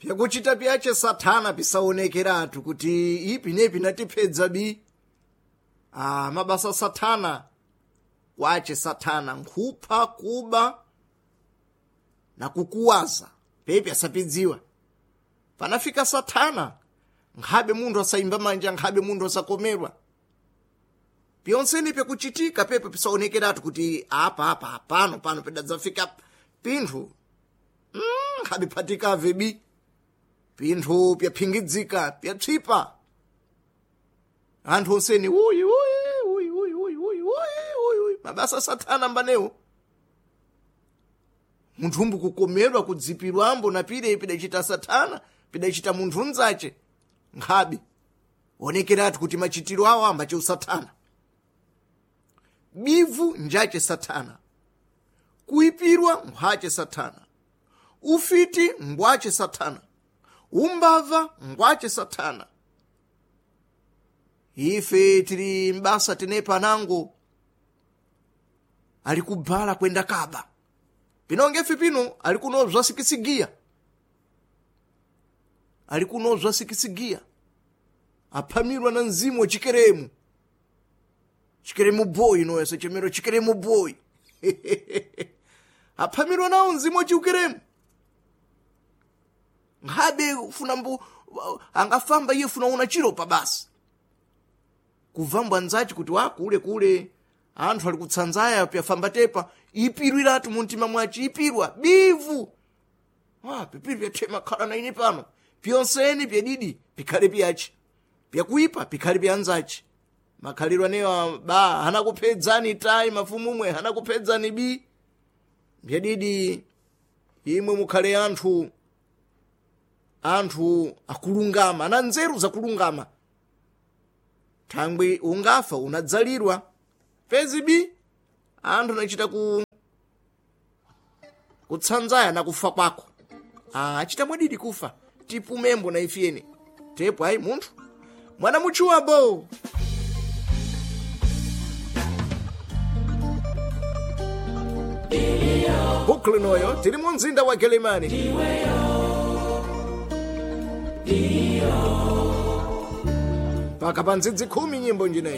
Pyakuchita pyache sathana pisaonekeratu kuti ipi nepi natipedza bi. Ah, mabasa sathana kwache sathana nkhupha, kuba na kukuwaza pepi asapidziwa. Panafika sathana nkhabe munthu asayimba manja, nkhabe munthu asakomerwa. Pyonseni pyakuchitika pepe pisaonekeratu kuti apa apa pano pano pedadzafika pinthu nkhabe phatikave bi. Pinthu pyaphingidzika, pyapsipa. Anthu onseni uyi uyi uyi uyi uyi uyi uyi uyi mabasa sathana mbanewo. Munthu umbu kukomerwa kudzipirwambo na pire pidachita sathana, pidachita munthu mnzache nkhabe onekeratu kuti machitiro awo ambache usathana. Bivu njache sathana, kuipirwa nkhwache sathana, ufiti ngwache sathana, umbava ngwache sathana. Ife tili mbasa tenepa nango ali kubhala kwenda kaba pinonge ife pino ali kunobzwa sikisigiya, ali kunobzwa sikisigiya, aphamirwa na mzimu wachikeremu chikeremu boy noyo sechemero chikeremu boy aphamirwa nawo mzimu wachiukeremu. Nkhabe funa mbu angafamba iye funa una chiropa basi kuvambwa nzachi kuti wa kule kule anthu ali kutsanzaya pyafamba tepa ipirwiratu muntima mwachi ipirwa bivu. Ah, pipiri pyathema khala na ine pano pyonseni pyadidi pikhale pyachi pyakuipa pikhale pyanzachi. Makhalidwe anewa ba hanakuphedzani tayi mafumumwe hanakuphedzani bi. Pyadidi imwe mukhale anthu anthu akulungama ana nzeru zakulungama. Thangwi ungafa unadzalirwa pezi bi anthu anachita ku kutsanzaya na kufa kwako. Ah, achita mwadidi kufa tipumembo na ifyeni tepo ayi munthu mwana muchuwabo. Brooklyn oyo tili mu mzinda wa Gelemani. Paka pa ndzidzi 10 nyimbo njineyi.